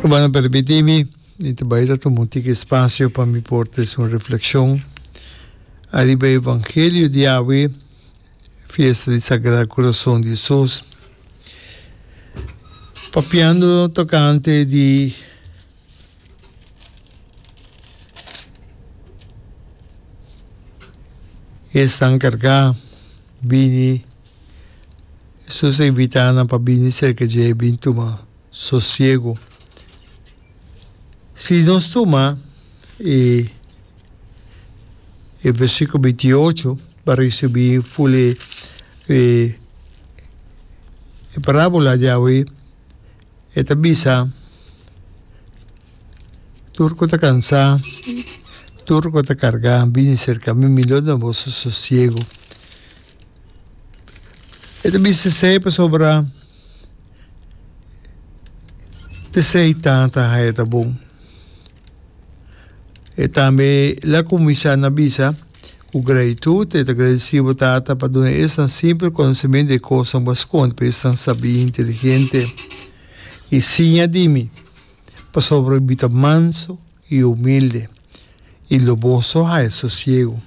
Rumannan permití mi, mi ta bai ta tuma un tiki espasio pa mi por trese un reflekshon ariba e evangelio di awe, fiesta di Sagrado Kurason di Hesus. Papiando tokante di Esnan kargá bini, Hesus a invitá nan pa bini serka dje i bin tuma sosiegu. Si nos tuma e e versíkulo 28 pa risibí ful e e parábola di awe, E ta bisa, Tur ku ta kansá, tur ku ta kargá, bini serka mi, mi lo duna boso sosiegu. E ta bisa esei pasobra t'esei Tata haya ta bon. E tambe la kuminsá na bisa ku gratitut, e ta gradisí bo Tata pa duna esnan simpel konosementu di e kosnan ku a skonde pa esnan sabí i inteligente. I siña di mi, pasobra mi ta mansu i humilde, i lo boso haya sosiegu.